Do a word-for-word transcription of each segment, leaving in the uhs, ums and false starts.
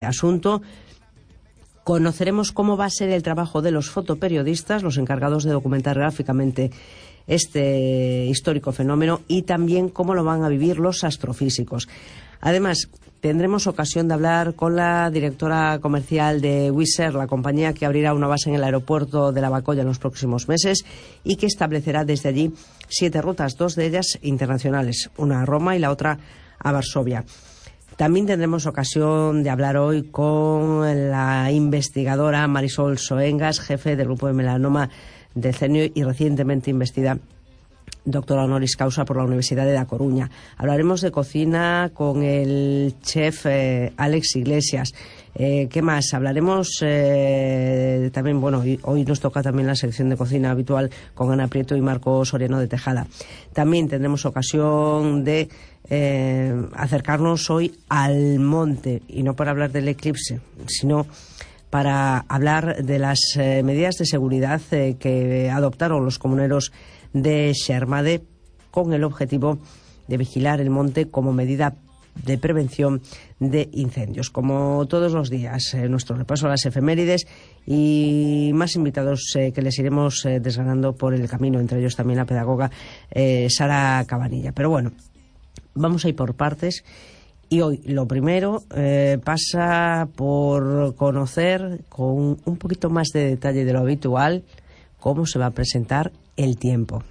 asunto. Conoceremos cómo va a ser el trabajo de los fotoperiodistas, los encargados de documentar gráficamente este histórico fenómeno, y también cómo lo van a vivir los astrofísicos. Además, tendremos ocasión de hablar con la directora comercial de Wizz Air, la compañía que abrirá una base en el aeropuerto de Lavacolla en los próximos meses y que establecerá desde allí siete rutas, dos de ellas internacionales, una a Roma y la otra a Varsovia. También tendremos ocasión de hablar hoy con la investigadora Marisol Soengas, jefe del grupo de melanoma del C E N I O y recientemente investida doctora honoris causa por la Universidad de La Coruña. Hablaremos de cocina con el chef eh, Alex Iglesias. Eh, ¿Qué más? Hablaremos eh, también, bueno, hoy nos toca también la sección de cocina habitual con Ana Prieto y Marco Soriano de Tejada. También tendremos ocasión de eh, acercarnos hoy al monte, y no para hablar del eclipse, sino para hablar de las eh, medidas de seguridad eh, que adoptaron los comuneros de Xermade con el objetivo de vigilar el monte como medida de prevención de incendios. Como todos los días, eh, nuestro repaso a las efemérides y más invitados eh, que les iremos eh, desgranando por el camino, entre ellos también la pedagoga eh, Sara Cabanilla. Pero bueno, vamos a ir por partes. Y hoy lo primero eh, pasa por conocer con un poquito más de detalle de lo habitual cómo se va a presentar el tiempo.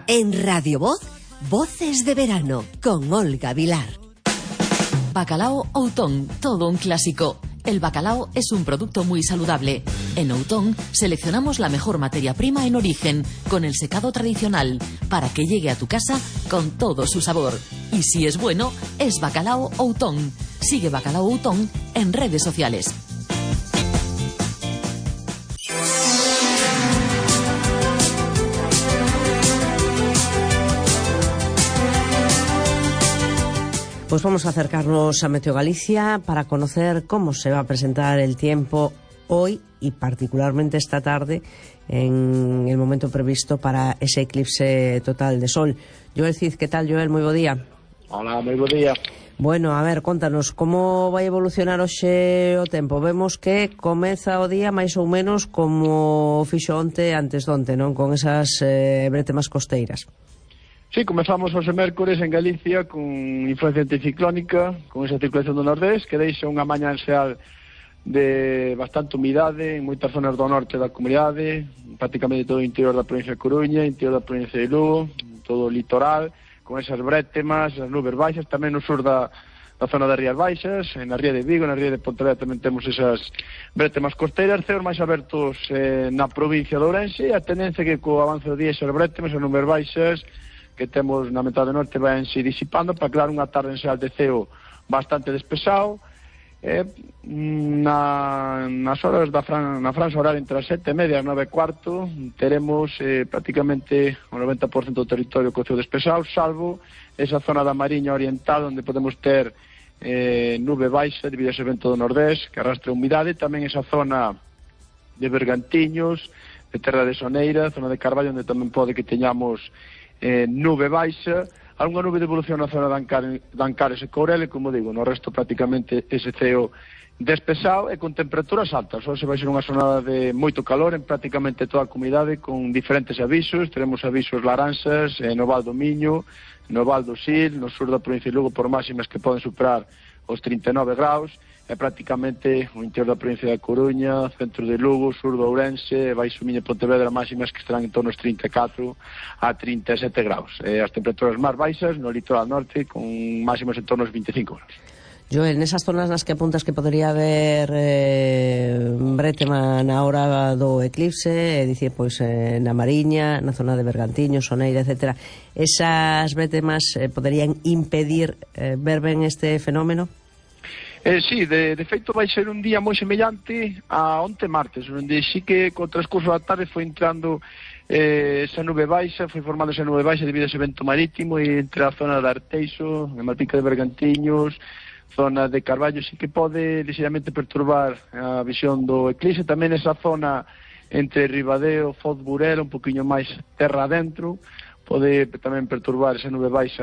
En Radio Voz, Voces de Verano, con Olga Vilar. Bacalao Outón, todo un clásico. El bacalao es un producto muy saludable. En Outón seleccionamos la mejor materia prima en origen, con el secado tradicional, para que llegue a tu casa con todo su sabor. Y si es bueno, es Bacalao Outón. Sigue Bacalao Outón en redes sociales. Pues vamos a acercarnos a Meteo Galicia para conocer cómo se va a presentar el tiempo hoy y particularmente esta tarde en el momento previsto para ese eclipse total de sol. Joel Cid, ¿qué tal, Joel? Muy bo día. Hola, moi bo día. Bueno, a ver, contanos, como vai evolucionar hoxe o tempo? Vemos que comeza o día máis ou menos como fixo onte antes de onte, non? Con esas eh, bretemas costeiras. Sí, comezamos hoxe mércores en Galicia con influencia anticiclónica, con esa circulación do nordés, que deixa unha mañá enseal de bastante humidade en moitas zonas do norte da comunidade, prácticamente todo o interior da provincia de Coruña, interior da provincia de Lugo, todo o litoral, con esas brétemas, as nubes baixas, tamén no sur da, da zona das Rías Baixas, na ría de Vigo, na ría de Pontevedra tamén temos esas brétemas costeiras, ceos máis abertos eh, na provincia de Ourense, e a tendencia que co avance do día esas brétemas, as nubes baixas que temos na metade norte van se disipando para crear unha tarde enseal de ceo bastante despexado. Eh, na, nas horas da fran, na franja horaria entre as sete e media e as nove e cuarto teremos eh, prácticamente o noventa por cento do territorio co ceo despexado, salvo esa zona da Mariña Oriental onde podemos ter eh, nube baixa debido a ese vento do nordés que arrastra humidade, tamén esa zona de Bergantiños, de Terra de Soneira, zona de Carballo onde tamén pode que teñamos Eh, nube baixa, algunha nube de evolución na zona de Ancares, de Ancares e Courel, e como digo, no resto prácticamente ese ceo despexado e con temperaturas altas. Hoxe vai ser unha xornada de moito calor en prácticamente toda a comunidade con diferentes avisos. Teremos avisos laranxas eh, no Val do Miño, no Val do Sil, no sur da provincia de Lugo por máximas que poden superar os trinta e nove graus, e prácticamente o interior da provincia da Coruña, centro de Lugo, sur do Ourense, Baixo Miño e Pontevedra máximas que estarán en torno aos trinta e catro a trinta e sete graus. E as temperaturas máis baixas no litoral norte con máximas en torno aos vinte e cinco graus. Joel, nesas zonas nas que apuntas que podría haber eh, bretema na hora do eclipse, é dicir, pois eh, na Mariña, na zona de Bergantiño, Soneira, etcétera, esas bretemas eh, poderían impedir eh, ver ben este fenómeno? Eh, sí, de, de feito vai ser un día moi semellante a onte martes, onde sí que co transcurso da tarde foi entrando eh, esa nube baixa, foi formando esa nube baixa debido a ese vento marítimo, e entre a zona de Arteixo, de Malpica de Bergantiños, zona de Carballo, sí que pode ligeramente perturbar a visión do eclipse, tamén esa zona entre Ribadeo, Foz, Burela, un poquinho máis terra adentro, pode tamén perturbar esa nube baixa